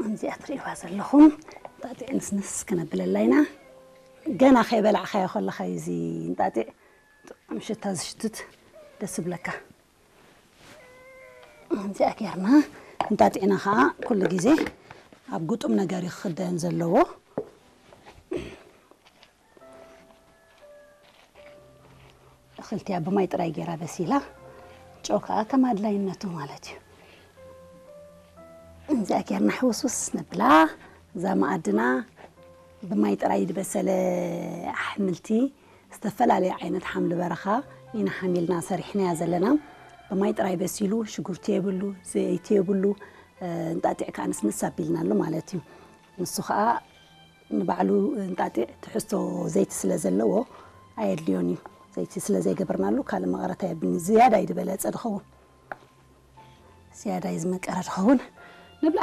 እዚኣ ትርእይዋ ዘለኹም እንጣጢዕ ንስንስ ክነብለላ ኢና። ገና ከይበላዕካዮ ከለኻ እዩ እዚ እንጣጢዕ ጥዑም ሽታ ዝሽትት፣ ደስ ይብለካ። እዚኣ ጌርና እንጣጢዕና ከዓ ኩሉ ግዜ ኣብ ግጡም ነገር እዩ ክኽደን ዘለዎ። እኽልቲያ ብማይ ጥራይ ገይራ በሲላ፣ ጨው ከዓ ከም ኣድላይነቱ ማለት እዩ። እዚኣ ጌርና ሕውስውስ ነብላ። እዛ መኣድና ብማይ ጥራይ ዝበሰለ ኣሕምልቲ፣ ዝተፈላለየ ዓይነት ሓምሊ በረኻ ኢና ሓሚልና ሰሪሕናያ ዘለና። ብማይ ጥራይ በሲሉ፣ ሽጉርቲ የብሉ፣ ዘይቲ የብሉ፣ እንጣጢዕ ከዓ ንስንስ ኣቢልናሉ ማለት እዩ። ንሱ ከዓ ንባዕሉ እንጣጢዕ ትሕዝቶ ዘይቲ ስለ ዘለዎ ኣየድልዮን እዩ። ዘይቲ ስለ ዘይገበርናሉ ካልእ መቐረት ኣየብልኒ። ዝያዳ እዩ ዝበለጸ ድኸውን። ዝያዳ እዩ ዝመቀረ ድኸውን።